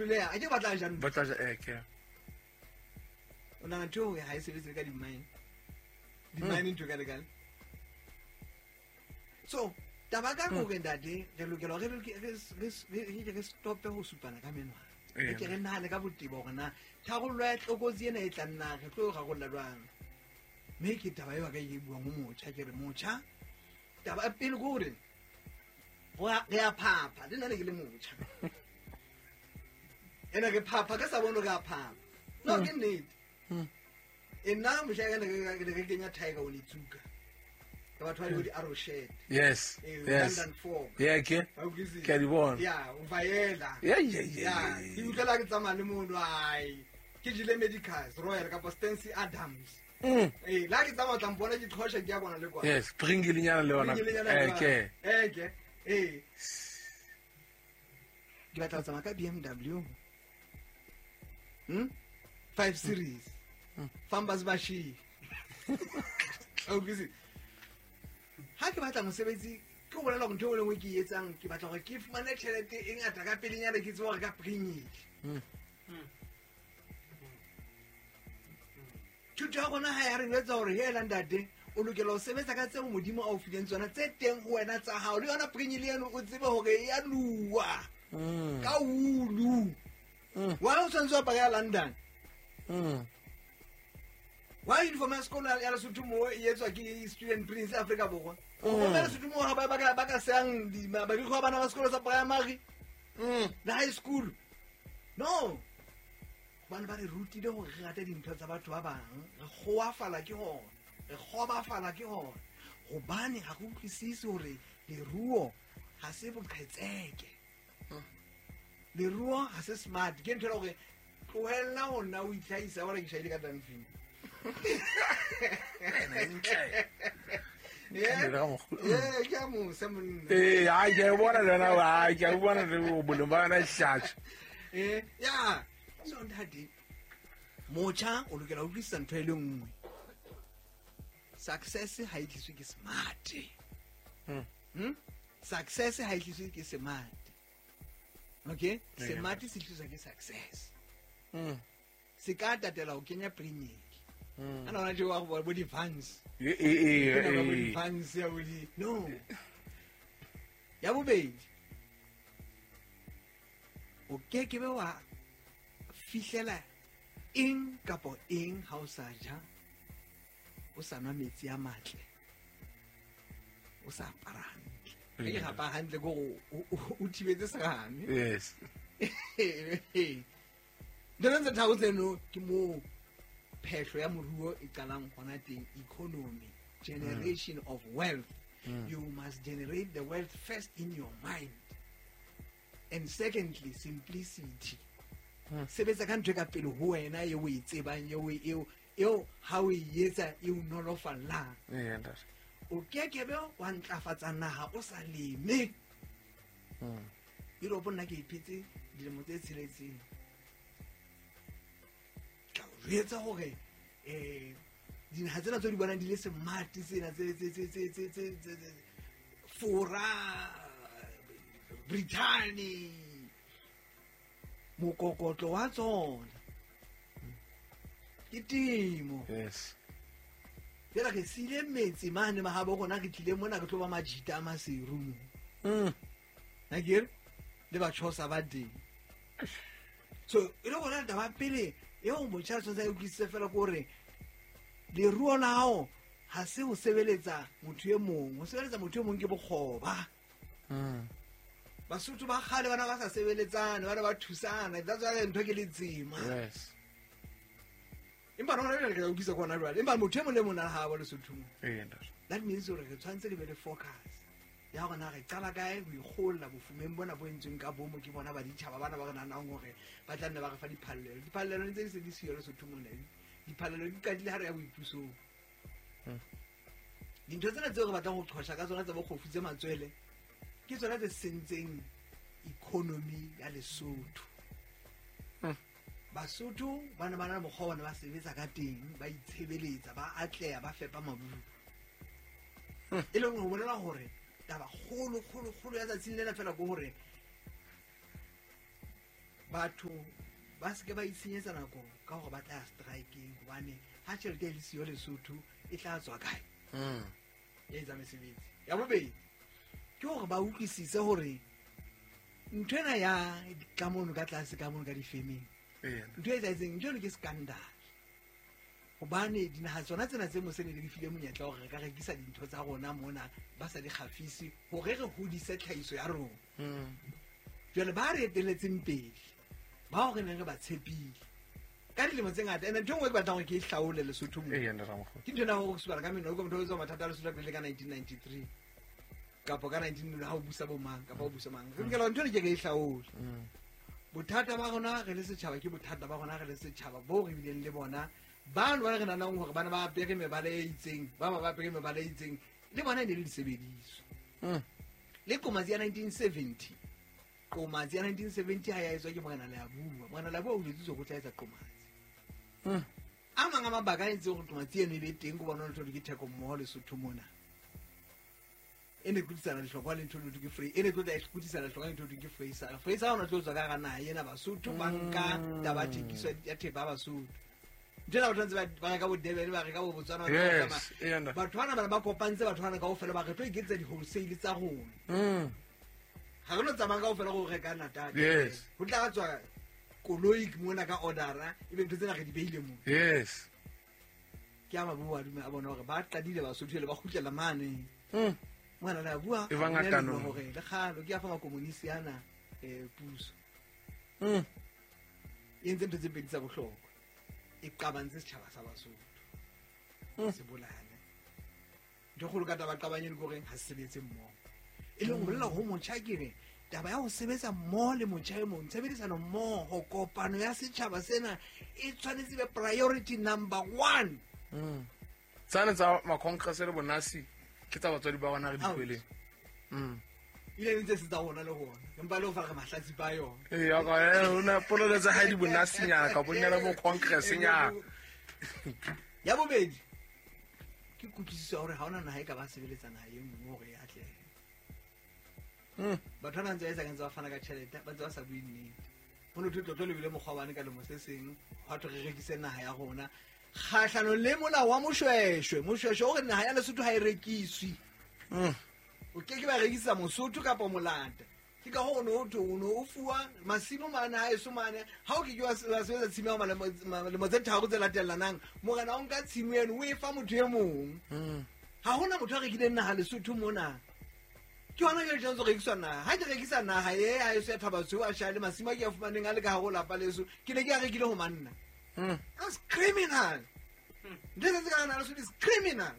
hloleha, a ke ba tla ja ntho. Ba tla ja, ke. O nahana ntho eo ha e sebetse ka di-mine. Di-mine ntho ka lekale. So, taba ka hore ntate, re lokela hore re stope ho supana ka menwana. Re ke re nahane ka botebo hore na tharollo ya tlokotsi ena e tlang na re tlo e rarolla jwang. Mme ke taba eo ka e buang ho motjha, ke re motjha, taba ya pele ke hore re a phapha, le nna ne ke le motjha. Ene re phapha ka sa bone re a phapha. No, ke nnete. E nna mohla ke ne re kenya Tiger Onitsuka. Ka batho ba le di arrow shirt. Yes. Yes. London Fog. Yeah, ke. Ba utlwisisa? Ke a di bona. Yeah, o vaela. Yeah, yeah, yeah, Yeah, yeah, yeah. ke utlwela ke tsamaya le mono, ai. Ke jele Medicals, Royal kapa Stanley Adams. La ke tsamaya o tla mpona ke qhosha ke ya bona le kwa. Yes, Pringle-nyana le yona. Pringle-nyana le yona. Ke. Ke. Ke batla ho tsamaya ka BMW. 5 series. Fambas Bashi. O utlwisisa? Ha ke batla mosebetsi, ke ho bolela hore ntho e nngwe le nngwe ke e etsang, ke batla hore ke fumane tjhelete e ngata ka pelenyana, ke tsebe hore ka Pringle. Thuto ya rona ha ya re jwetsa hore hela ntate, o lokela ho sebetsa ka tseo Modimo a o fileng tsona, tse teng ho wena tsa hao. Le yona Pringle eno o tsebe hore e ya luwa. Ka ulu. Wa o tshwanetse ho apara ya London. Wa uniform ya sekolo ya Lesotho mo e etswa ke Student Prince Afrika Borwa. O bona Lesotho mo ha ba ka sehang marikgwe a bana ba sekolo sa primary. Le high school. No. Hobane ba re rutile hore re rate dintho tsa batho ba bang, re kgoafala ke hona, re kgobafala ke hona. Hobane ha re utlwisise hore leruo ha se boqhetseke. Leruo ha se smart. Ke ntho e leng hore tlohella ho nna o itlhahisa, wa re ke shaile ka Dunfin. Yeah, ke a mosa monna. Ai, ke a bona le wena, ai, ke a bona le o boleng ba yona hlatsa. Ya. So ntate, motjha o lokela ho utlwisisa ntho e le nngwe. Success ha e tliswe ke smart. Success ha e tliswe ke smart. Okay? Smart se tliswa ke success. Se ka tatela ho kenya Pringle. Ana hona tje wa go bo di fans. Ke bo di fans ya bo di. No. Ya bobedi. O ke ke be wa fihlela eng kapo eng ha o sa ja, o sa nwa metsi a matle, o sa apara hantle. Ke apara hantle ko o thibetse serame. Yes. Ntho tse tharo tseno ke moo phehlo ya moruo e qalang hona teng, economy, generation of wealth. You must generate the wealth first in your mind. And secondly, simplicity. Sebetsa ka ntho e ka pele ho wena e o e tsebang, eo ha o e etsa e o nolofallang. Ntate. O kekebe wa ntlafatsa naha o sa leme. Europe nna ke iphetse dilemo tse tsheletseng. Ka o jwetsa hore, dinaha tsena tseo di bonang di le smart tsena tse, Fora, Britain, mokokotlo wa tsona ke temo. Yes. Jwale re siile metsi mane mahabo rona, re tlile mona re tlo ba majita a Maseru mo. Akere? Le batjhosa ba teng. So, e le gona taba pele eo motjha a tshwanetse a e utlwisise fela ke hore leruo la hao ha se ho sebeletsa motho e mong. Ho sebeletsa motho e mong ke bokgoba. Basotho ba kgale bana ba sa sebeletsane, bana ba thusana. That's why ntho ke letsema. Yes. Empa rona re ka utlwisa kona jwale. Empa motho e mong le mong a ha ba Lesotho mo. Ntate. That means hore re tshwanetse re be le focus ya hore na re qala kae ho ikgolla bofumeng bona bo entsweng ka bomo ke bona ba ditjhaba bana ba re nahanang hore ba tla nne ba re fa diphallelo. Diphallelo ntse di se di siyo Lesotho mona. Diphallelo di qadile ha re ya boipusong. Dintho tsena tseo re batlang ho qhosha ka tsona tsa bokgofu tse matswele ke tsona tse sentseng economy ya Lesotho. Basotho ba ne ba na le mokgwa wa bona ba sebetsa ka teng, ba itshebeletsa, ba atleha, ba fepa maburu. E leng ho bolela hore taba kgolo, kgolo, kgolo ya tsatsing lena fela ke hore Batho ba se ke ba itshenyetsa nako ka hore ba tla ya strikeng hobane ha tjhelete e le siyo Lesotho e tla tswa kae? E etsa mesebetsi. Ya bobedi ke hore ba utlwisise hore ntho ena ya ka mono ka tlase ka mono ka difemeng. Ntho e etsahetseng ntho eno ke scandal. Hobane dinaha tsona tsena tse mose ne di file monyetla hore re ka rekisa dintho tsa rona mona ba sa di kgafise hore re hodise tlhahiso ya rona. Jwale ba re eteletseng pele bao re neng re ba tshepile ka dilemo tse ngata. Ene ntho e nngwe ke batlang hore ke e hlaole Lesotho mo. Ke ntho ena hore supana ka meno, motho o tswa mathata a Lesotho pele ka 1993 kapa ka 19 ha o busa bo mang kapa o busa mang. Re lokela ntho ena ke re e hlaole. Bothata ba rona re le setjhaba ke bothata ba rona re le setjhaba bo re bileng le bona. Bano ba re nahanang hore bana ba apere mebala e itseng, ba bang ba apere mebala e itseng, le bona e ne le disebediswa. Le qomatsi ya 1970. Qomatsi ya 1970 ha ya etswa ke Morena Leabua. Morena Leabua o jwetsitswe ho tla etsa qomatsi. A mang a mabaka a entseng hore qomatsi eno e be teng ke bona ntho ke theko mmoho Lesotho mona. E ne kutisana lehlokwa le ntho ke free. E ne tlo tla kutisana lehlokwa le ntho ke free sa. Free sa ona tlo tswa ka hara naha ena Basotho ba nka taba thekiso ya thepa Basotho. Ntho ena batho ba reka bo Durban, ba reka bo Botswana, batho bana bana ba kopantse batho bana kaofela ba re tlo iketsetsa di-wholesale tsa rona. Ha re no tsamaya kaofela go reka Natal. Ho tla tswa koloi mona ka order-a, ebe ntho tsena re di behile moo. Ke a ba bua dume a bona hore ba qadile Basotho le ba kgutlela mane. Mona la bua hore le kgalo ke a fa makomonisi ana puso. E entse ntho tse pedi tsa bohlokwa. E qabantse setjhaba sa Basotho. Se bolane. Ntho kgolo ka taba qabanye le hore ha se sebetse mmoho. E leng ho bolela ho motjha ke re taba ya ho sebetsa mmoho le motjha e mong, tshebedisano mmoho, kopano ya setjhaba sena e tshwanetse be priority number 1. Tsane tsa ma-congress le bonasi ke tsa batswadi ba rona re di kweleng. Ile ntse se tsa rona le rona. Empa le ho fa re mahlatsi ba yona. Ee, ka ona polelo tsa hae di bonasinyana ka bonyana bo congress nyana. Ya bobedi ke kutlwisiso ya hore ha hona naha e ka ba sebeletsa naha e nngwe hore e atlehe. Batho ba ntse ba etsa ka ntse ba fana ka tjhelete, ba ntse ba sa bue nnete. Ho no thwe tlotlo le bile mokgwa wa bane ka lemo se seng, hwa thwe re rekise naha ya rona. Kgahlanong le molao wa Moshweshwe. Moshweshwe o re naha ya Lesotho ha e rekiswe. O ke ke ba rekisa Mosotho kapa Molata. Ke ka hoo o no o no o fuwa masimo mane ha eso mane. Ha o ke ke wa sebetsa tshimo ya lemo tse tharo tse latellanang, morena o nka tshimo eno o e fa motho e mong. Ha hona motho a rekileng naha Lesotho mona. Ke hona jwale tshwanetse ho rekiswa naha. Ha ke rekisa naha e ha eso ya Thabatsweu a shale masimo a ke a fumaneng a le ka hare ho lapa leso, ke ne ke a rekile ho manna. That's criminal. Ntho tse ka hara Lesotho is criminal.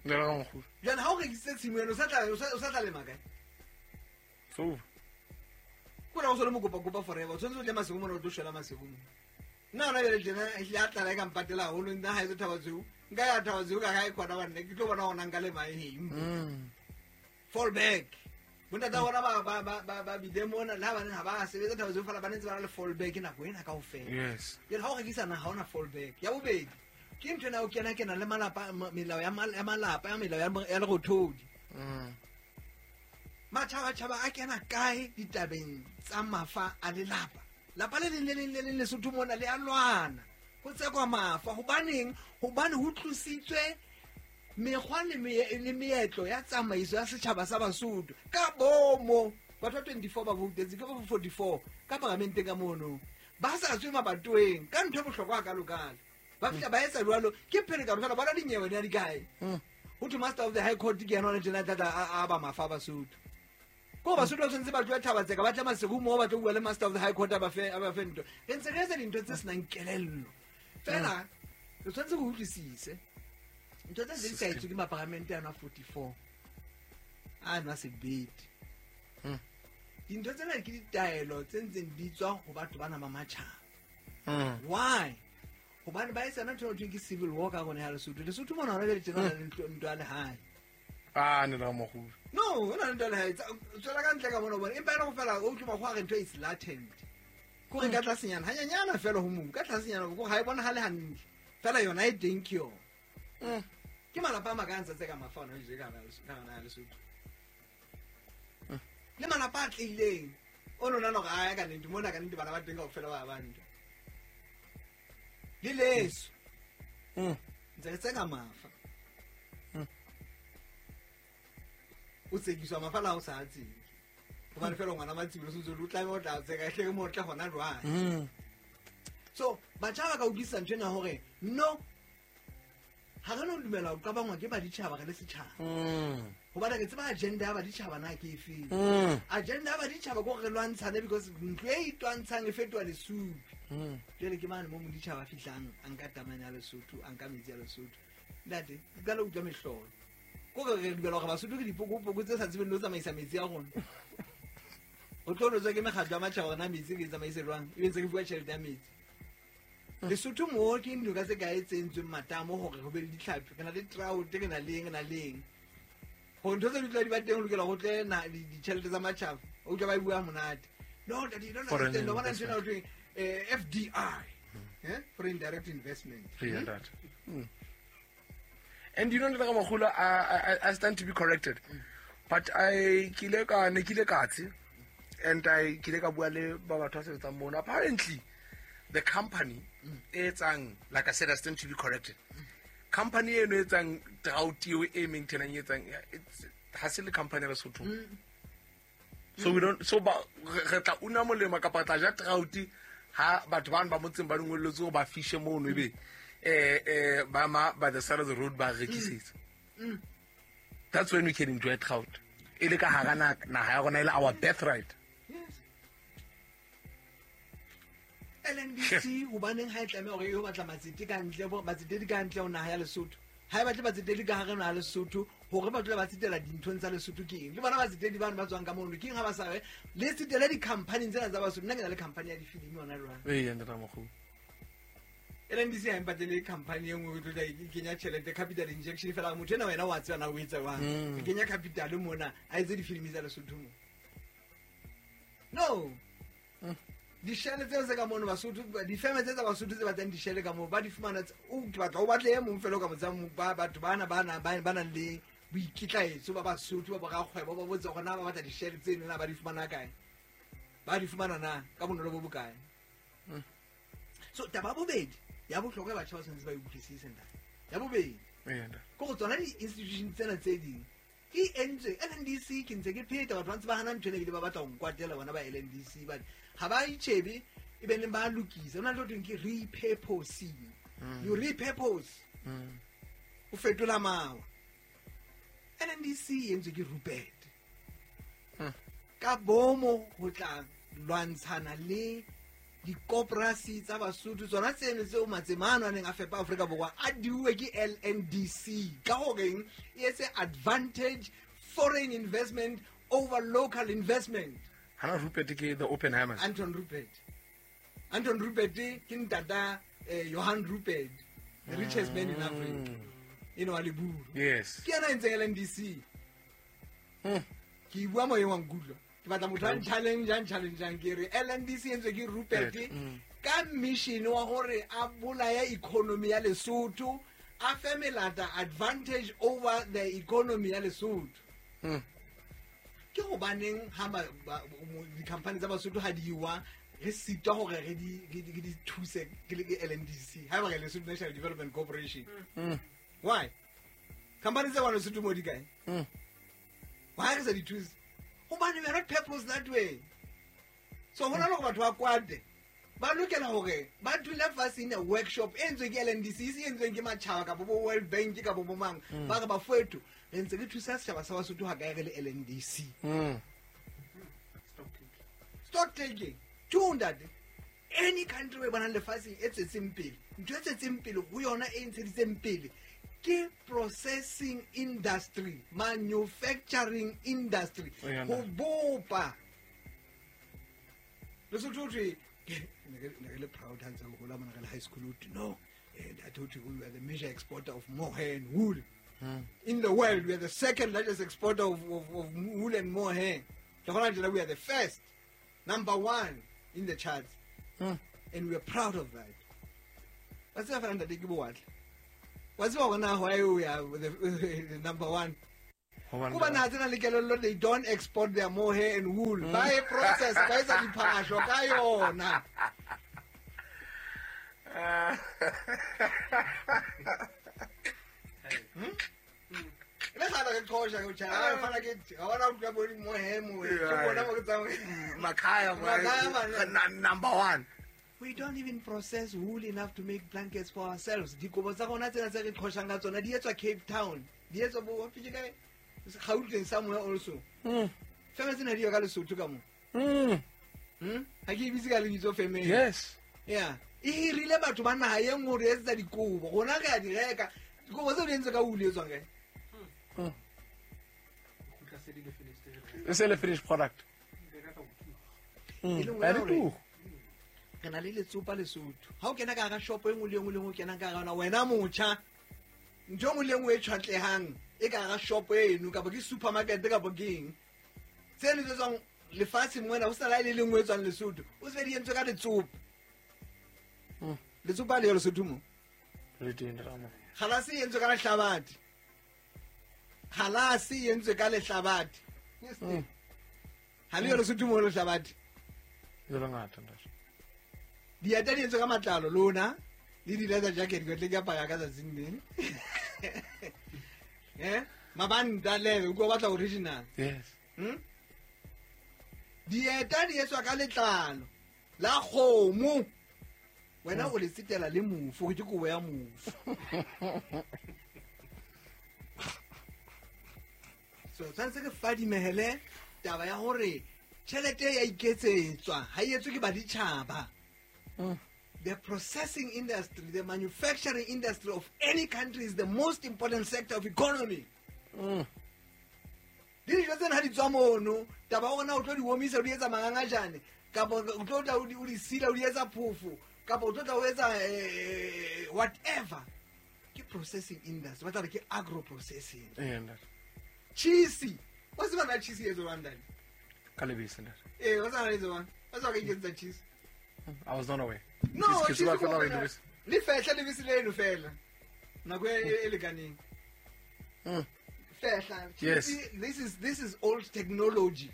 Jwale ha o rekisitse tshimo eno, o sa tla lema kae? So. Ko na o so le mokopa-kopa forever. O tshwanetse o tle Maseru mona o tlo shwela Maseru mona. Nna hona jwale tjena, ehlile a tlala e ka mpatela haholo, nna ha eso Thabatsweu. Nka ya Thabatsweu ka kae khona banna, ke tlo bona hona nka lema eng. Fall back. Bontata bona ba bile mona, le ha ba ne ha ba sebetsa Thabatsweu fela ba ne ntse ba na le fall back nako ena kaofela. Jwale ha o rekisa naha ha ona fall back. Ya bobedi, ke ntho ena o kena le malapa, melao ya malapa, ya melao ya lerothodi. Matjhabatjhaba a kena kae ditabeng tsa mafa a lelapa? Lapa le leng le leng le leng Lesotho mona le a lwana. Ho tsekwa mafa. Hobaneng? Hobane ho tlositswe mekgwa le meetlo ya tsamaiso ya setjhaba sa Basotho. Ka bomo, batho ba 24 ba voutetse, ke ba 44 ka paramenteng ka mono. Ba sa tswe mabatoweng ka ntho e bohlokwa hakalo-kalo. Ba fihla ba etsa jwalo, ke pherekano fela, bona dinyewe di a di kae? Ho thwe Master of the High Court ke yena hona tjena a tla a ba mafa a Basotho. Ko Basotho ba tshwanetse ba tlohe Thabatseka, ba tle Maseru moo ba tlo bua le Master of the High Court a ba fe ntho. Re ntse re etsa dintho tse senang kelello. Fela re tshwanetse re utlwisise. Ntho tse di sa etswe ke maparamente ano a 44. A nwa sebete. Dintho tsena ke ditaelo tse ntseng di tswa ho batho bana ba matjhaba. Why? Hobane ba etsa ntho e ke civil war ka rona ya Lesotho. Lesotho mona hona jwale tjena le ntwa le hae. Ah, ne la moholo. No, hona le ntwa le hae. Tswela ka ntle ka mona bona. Empa ena go fela o utlwa makgowa a re ntho is latent. Ko re ka tlasenyana, hanyanyana fela ho mobu, ka tlasenyana ko ha e bonahale hantle. Fela yona e teng ke yona. Ke malapa a makae a ntse tse ka mafa hona jwale ka hara Lesotho. Malapa a tlileng o nona no ga ya ka nnete mona ka nnete bana ba teng kaofela ba bantle le leso ntse re tseka mafa o tsekiswa mafa la o sa tsebe gobane fela ngwana matsibolo sentse o tlabe o tla tseka hle ke mo tle gona jwang. So batjha ba ka utlwisisa ntho ena hore no ha re no dumela ho qabangwa ke baditjhaba re le setjhaba. Hobane re tseba agenda ya baditjhaba na ke efeng. Agenda ya baditjhaba ke hore re lwantshane because ntlo e itwantshang e fetoha lesupi. Jwale ke mane mo moditjhaba a fihlang a nka tamane ya Lesotho, a nka metsi ya Lesotho. Ntate, ke qala ho utlwa mehlolo. Ko re re dumela hore Basotho ke dipokopoko tse sa tsebeng le ho tsamaisa metsi a rona. O tlo rotswa ke mekgatlo ya matjhaba hore na metsi re e tsamaise jwang, ebe ntse re fuwa tjhelete ya metsi. Lesotho mo ke dinoka tse kae tse entsweng matamo hore ho be le ditlhapi, re na le trout, re na le eng, re na le eng. Hore ntho tse di tla di ba teng ho lokela ho tle na ditjhelete tsa matjhaba, o utlwa ba e bua monate. No, ntate, you don't understand. Wa bona ntho ena ho thweng, FDI, foreign direct investment. Yeah, that. And you know, Ntate I stand to be corrected, but I kile ka ne kile katse, and I kile ka bua le ba batho ba sebetsang mono. Apparently, the company e etsang, like I said, I stand to be corrected. Company eno e etsang drought eo e maintainang e etsang, it's ha se le company ya Lesotho. So we don't, so ba re tla una molemo kapa tla ja drought ha batho bana ba motseng ba dingwelletse hore ba fishe mono ebe ba ma by the side of the road ba rekisetsa. That's when we can enjoy trout. E le ka hara naha ya rona e le our birthright. Yes. LNDC hobaneng ha e tlameha hore e yo batla matsete ka ntle, bo matsetedi ka ntle ho naha ya Lesotho. Ha e batle batsetedi ka hare naha ya Lesotho hore ba dule ba tsetela dinthong tsa Lesotho ke eng? Le bona batsetedi bano ba tswang ka mono ke eng ha ba sa re le tsetele di-company tsena tsa Basotho? Nna ke na le company ya difilimi hona jwale. Ee, ntate Ramokgopa. LNDC ha e mpatlele company e nngwe e tlo tla e kenya tjhelete, capital injection fela. Motho ena wena wa tseba na o etsa jwang. E kenya capital mona, a etse difilimi tsa Lesotho mo. No. Dishele tseo tse ka mono Basotho, difeme tse tsa Basotho tse batlang dishele ka moo, ba di fumana o ke batla o batle e mong fela o ka motsang ba batho bana ba na ba nang le boikitlaetso ba Basotho ba borakgwebo ba botse hore na ba batla dishele tseno na ba di fumana kae. Ba di fumana na ka bonolo bo bokae. So taba ya bobedi ya bohlokwa ya batjha ba tshwanetse ba e utlwisise ntate. Ya bobedi. Ke go tsona di-institution tsena tse ding e entswe LNDC ke ntse ke pheta batho ba ntse ba hana ntho ena ebile ba batla ho nkwatela bona ba LNDC but ha ba itjhebe e be neng ba lokisa. Ho na le ho thweng ke repurposing. You repurpose. O fetola mawa. LNDC e entswe ke Rupert. Ka bomo ho tla lwantshana le dikoporasi tsa Basotho tsona tseno tseo matsemano a neng a fepa Afrika Borwa a diuwe ke LNDC ka horeng e etse advantage foreign investment over local investment. Hana Rupert ke the Oppenheimers. Anton Rupert. Anton Rupert ke ntata Johan Rupert, the richest man in Africa. You know, Aliburu. Yes. Ke yena a entseng LNDC. Ke bua moyeng wa nkutlwa. Ke batla motho a challenge ke re LNDC e entswe ke Rupert ka mission wa hore a bolaya economy ya Lesotho, a fe melata advantage over the economy ya Lesotho. Ke hobaneng ha di-company tsa Basotho ha di wa re sitwa hore re di thuse ke le LNDC ha ba re Lesotho National Development Corporation. Why? Company tsa Lesotho mo di kae? Why re sa di thuse? Hobane we are not purpose that way. So hona le hore batho ba kwate ba lokela hore ba dule fatshe in a workshop e entsweng ke LNDC, e entsweng ke matjhaba kapa bo World Bank kapa bo mang. Ba re bafowetho re ntse re thusa setjhaba sa Basotho ha kae re le LNDC. Stock taking. Two ntate. Any country we bonang lefatsheng e tswetseng pele, ntho e tswetseng pele ho yona e ntsheditseng pele ke processing industry, manufacturing industry, ho bopa. Lesotho ho thwe ne re le proud ha ntse re hola mona re le high school ho thwe no, ntate ho thwe we are the major exporter of mohair and wool. In the world, we are the second largest exporter of wool and mohair. We are the first, number one in the charts. And we are proud of that. What's the ntate ke bowatle? Wa tseba hore na why we are the number one? Ko ba naha tsena le kelello, they don't export their mohair and wool. Ba e process, ba etsa diphahlo ka yona. Le kgale re qosha ke tjha, ha fana ke ga bona utlwa bo mohair mohair. Ke bona mo ke tsamaya. Makhaya number 1. We don't even process wool enough to make blankets for ourselves. Dikobo tsa rona tsena tse re qhoshang ka tsona di etswa Cape Town. Di etswa bo ke kae? Gauteng somewhere also. Feme tsena di yo ka Lesotho ka mo. Ha ke ibitse ka lebitso feme. Yes. Yeah. E hirile batho ba naha e nngwe re etsa dikobo. Rona re a di reka. Dikobo tseo di entswe ka wool e tswang kae? E se le finished product. Re na le letsopa Lesotho. Ha o kena ka hara shop e nngwe le nngwe le nngwe o kenang ka hara yona, wena motjha, ntho e nngwe le nngwe e tjhwatlehang e ka hara shop eno kapa ke supermarket kapa ke eng, tseno tse tswang lefatsheng mona ho sa la le le nngwe e tswang Lesotho, o se di entswe ka letsopa. Letsopa le Lesotho mo. Le teng ramo. Kgalase e entswe ka lehlabathe. Kgalase e entswe ka lehlabathe. Ha le Lesotho mo lehlabathe. Le bangata ntate. Dieta di entswe ka matlalo lona le di leather jacket ke tle ke apara ka tsatsing leng. Mabanta le o batla original. Yes. Dieta di etswa ka letlalo la kgomo. Wena o le sitela le mofu, ke kobo ya mofu. So tshwanetse ke fadimehele taba ya hore tjhelete ya iketsetswa ha e etswe ke baditjhaba. The processing industry, the manufacturing industry of any country is the most important sector of economy. Dijo tsena ha di tswa mono, taba ona o tlo di omisa o di etsa mangangajane, kapa o tlo tla o di sila o di etsa phofo, kapa o tlo tla o etsa whatever. Ke processing industry, ba tla re ke agro processing. Cheese. Wa tseba na cheese e etswang ntate? Ka lebese ntate. Wa tseba na e etswang? Wa tseba ka iketsetsa cheese? I was not aware. No, cheese le fehla lebese leno fela. Nako e lekaneng. Fehla. Yes. This is old technology.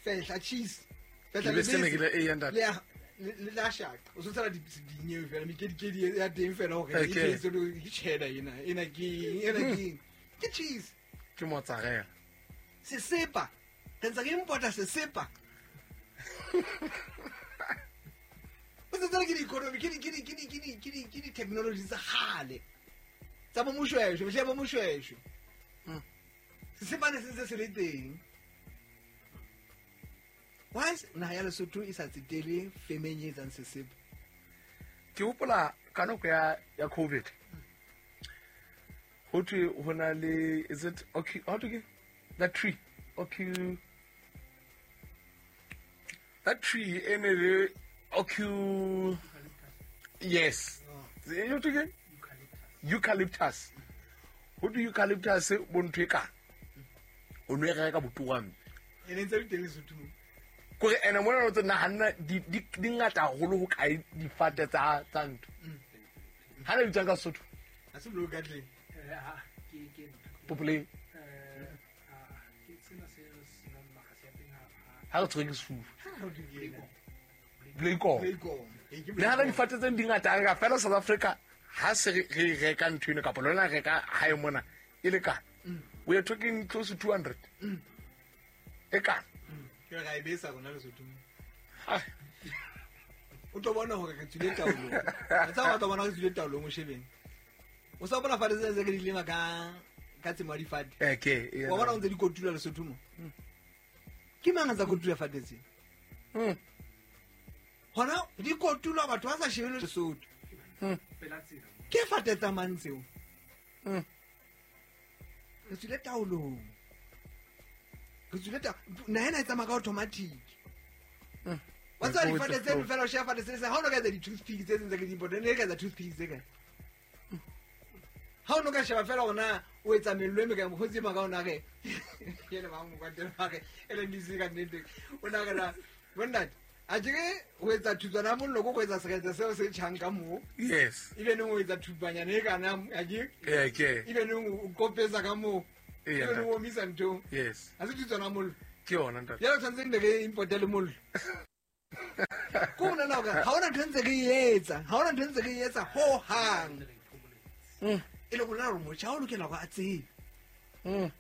Fehla cheese. Fehla lebese ne le la shaka. O tsela dinyewe fela mekedikedi ya teng fela hore e ke ke cheddar ena ke ke cheese. Ke mozzarella. Sesepa. Re ntse re importa sesepa. O tsela ke di-economy, ke di-technology tsa kgale. Tsa bo Moshweshwe, mehleng ya bo Moshweshwe. Sesepa ne se ntse se le teng. Why naha ya Lesotho e sa tsetele femeng e etsang sesepa? Ke hopola ka nako ya COVID. Ho thwe ho na le, is it okay, how to get that tree? Okay. That tree e ne le okay. Yes. You to get eucalyptus. Ho do eucalyptus bo ntho e ka. O no e reka botuwang. E ne ntse le teng Lesotho. Kore ene mona o tse nahanna di ngata haholo ho kae difate tsa ntho. Ha le bitsang ka Sesotho? Ha se blue katle. Ke Popole. Ke tsena se senang makgasi a teng ha re tshwere ke sefuba. Blekom. Le ha difate tse di ngata ka fela South Africa ha se re reka ntho eno kapa lona reka hae mona e le ka. We are talking close to 200. E ka. Ke re ga e besa rona Lesotho. O tlo bona hore re tswile taolong. Re tsa batla bona re tswile taolong o shebeng. O sa bona fate tse ke di lema ka tsemo ya difate. Okay. Wa bona o ntse di kotula Lesotho mo. Ke mang a tsa kotula fate tse? Hona di kotulwa batho ba sa shebele Lesotho. Ke fate tsa mang tseo? Re tswile taolong. Re tswile naha ena e tsamaya ka automatic. Wa tseba difate tseno fela o sheba fate se ha o no ka etsa di-toothpick tse tse ke di important, ne ka etsa toothpick tse kae? Ha o no ka sheba fela hore na o etsa mello e mekae, mokgotsi e maka o na re ke le bang mokwatelo wa re LNDC ka nnete o na re na bonnate a ke ho etsa thutswana ya mollo ko etsa seretse seo se tjhang ka moo. Yes. Ebe neng o etsa thupanyana e kana a ke? Okay. Ebe neng o kopetsa ka moo. Ee, E ntate. o omisa ntho. Yes. Ha se thutswana mollo. Ke yona, ntate. Jwale tshwanetse ne re importe le mollo. Ko bona na hore ha hona ntho ntse re e etsa, ha hona ntho ntse re e etsa ho hang. E le bona hore motjha o lokela hore a tsebe.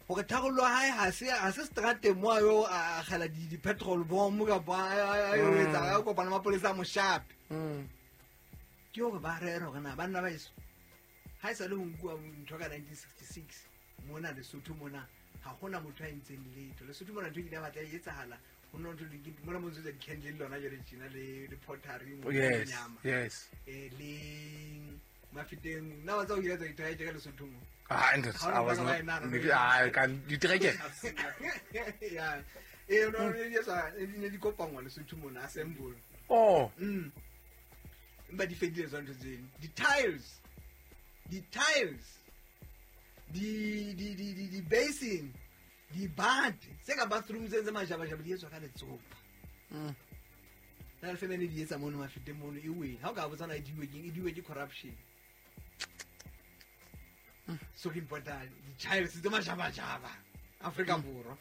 Hore tharollo ya hae ha se strateng mo a yo a akgela di-petrol bomb kapa a yo etsa a kopana mapolesa a moshape. Ke hore ba rere hore na banna ba heso ha e sale ho nkuwa ntho ka 1966 mona Lesotho mona ha hona motho a entseng letho. Lesotho mona ntho e kile ya batla e etsahala ho nna ntho mona mo ntse di-candle le lona jwale tjena le pottery mo Yes. nyama. Yes. Le Mafeteng nna wa tseba o kile tsa ditereke ka Lesotho mo. Ah, ntate, Ha I was o not. nna Ah, ka ditereke. Ya. No di etsa di ne di kopanngwa Lesotho mona assemble. Oh. Empa di fedile tsona ntho tseno. Di-tiles. Di-tiles. Di-basin. Dibate. Tse ka bathroom tse majabajaba di etswa ka letsopa. Na le femene di etsa mono Mafeteng mono e wele. Ha o ka botsa na e diwe keng, e diwe ke corruption. So ke important di-tiles tse majabajaba Afrika Borwa.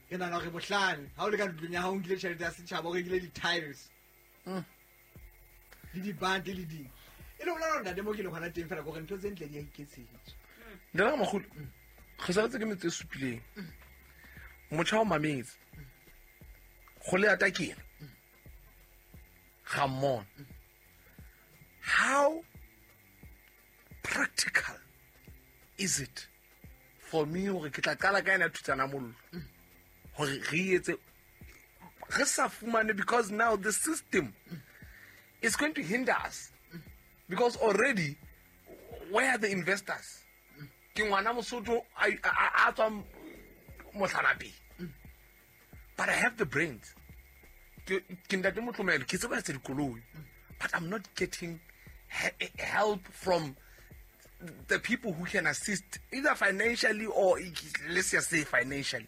Ke nahana hore bohlale ha o le ka ntlong ya hao o nkile tjhelete ya setjhaba o rekile di-tiles. Le dibate le ding. E le ho bolela hore ntate mo ke leng hona teng fela ke hore ntho tse ntle di a iketsetswa. Ntate Ramogolo, re saletse ke metso e supileng. Motjha o mametse. Kgole ya takena. Ga mmona. How practical is it for me hore ke tla qala ka ena thutsana mollo hore re etse re sa fumane, because now the system is going to hinder us, because already where are the investors? Ke ngwana Mosotho a tswang Mohlanapeng, but I have the brains. Ke ntate Motlomelo, ke tseba etsa dikoloi, but I'm not getting help from the people who can assist either financially or let's just say financially.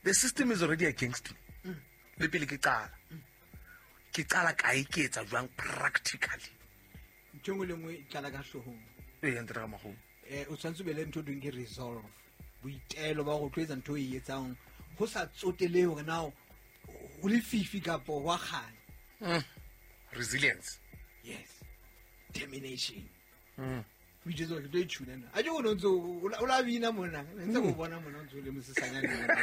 The system is already against me. Le pele ke qala. Ke qala kae, ke etsa jwang practically? Ntho e nngwe le nngwe e qala ka hloohong. Ee, ntate Ramogolo. O tshwanetse o be le ntho e thweng ke resolve. Boitelo ba hore o tlo etsa ntho e etsang ho sa tsotelehe hore na ho lefifi kapa ho a kganya. Resilience. Yes. Determination. O itjwetsa hore ke tlo e tjhuna nna. A ke o no ntso o la bina mona. Ntse ke o bona mona o ntso o le mosesanyane mona.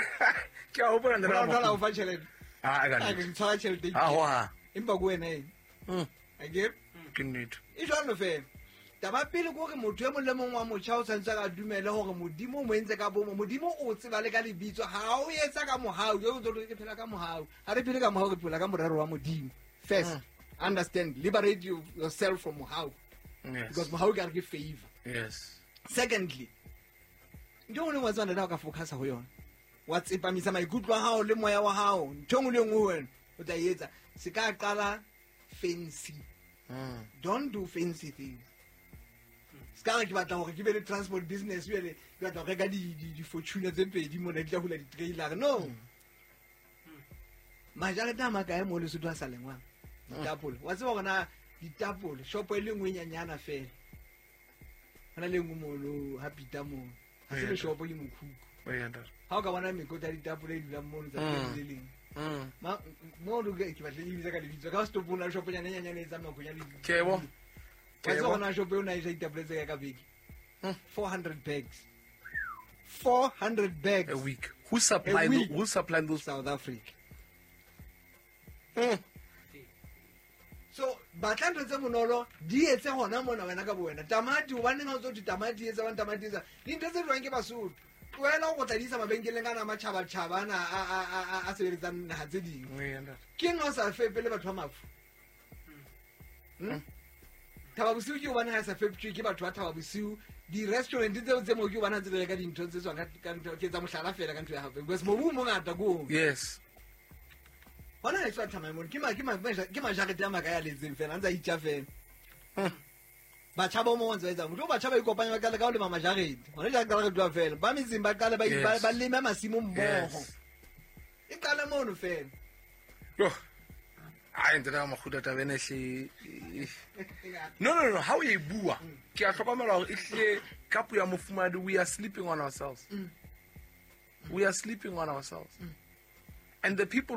Ke a hopola ntate Ho la Ramogolo. o fa tjhelete. Ah, ka A nnete. ke tshwara tjhelete. Ah, ho ha. Empa ke wena eng? Akere? Ke nnete. E jwalo fela. Taba pele ke hore motho e mong le mong wa motjha o tshwanetse a dumele hore Modimo o mo entse ka bomo. Modimo o tseba le ka lebitso. Ha o etsa ka mohau, jwale o tlo re ke phela ka mohau. Ha re phele ka mohau, re phela ka morero wa Modimo. First, understand, liberate yourself from mohau. Yes. Because mohau ke a re ke favor. Yes. Secondly, ntho e nngwe le nngwe wa tseba ntate ha o ka focus-a ho yona, wa tsepamisa maikutlo a hao le moya wa hao, ntho e nngwe le nngwe ho wena o tla e etsa. Se ka qala fancy. Don't do fancy things. Se ka re ke batla hore ke be le transport business, jwale ke batla ho reka di-Fortuner tse pedi mona di tla hula di-trailer. No. Majarete a makae mo Lesotho a sa lengwang? Ditapole. Wa tseba hore na ditapole, shopo e le nngwe e nyanyana fela. Ho na le nngwe mono ha Peter mono. Ha se le shopo ke mokhukhu. Ee, ntate. Ha o ka bona mekotla ya ditapole e dulang mono tsatsi le leng. Mo ke batla e bitsa ka lebitso. Ka setopong la shopo nyana e nyanyana e tsamaya konya le Ke bo. Wa tseba hore na shopo eo na e ja ditapole tse kae ka beke? 400 bags. 400 bags. A week. Who supply A week. who supply those? South Africa. So batla ntho tse bonolo di etse hona mona wena ka bo wena. Tamati, hobaneng ha o tso thwe tamati e etsa, hobane tamati e etsa. Dintho tse jwang ke Basotho. Tlohela ho tla di isa mabenkeleng ana a matjhabatjhaba ana a sebeletsang naha tse ding. Ee, ntate. Ke eng ha o sa fepe le batho ba mafu? Thaba Bosiu ke hobane ha e sa feptjwe ke batho ba Thaba Bosiu. Di-restaurant tseo tse moo ke hobane ha ntse di reka dintho tse tswang ka ntho, ke etsa mohlala fela ka ntho ya hao. Because mobu o mongata ko oo. Yes. Hona ha e tswa thamai mono, ke majarete a makae a letseng fela, a ntse a itja fela. Batjha ba mo ntse ba etsang. Motho batjha ba ikopanya ba qale ka ho lema majarete. Hona jwale qala re tloha fela. Ba metseng ba qale Yes. ba leme masimo mmoho. Yes. E qale mono fela. Yo. Ai, ntate Ramokgutla, taba ena ehle. No, no, no, ha o e bua, ke a hlokomela hore ehlile ka puo ya mofumahadi, we are sleeping on ourselves. We are sleeping on ourselves. And the people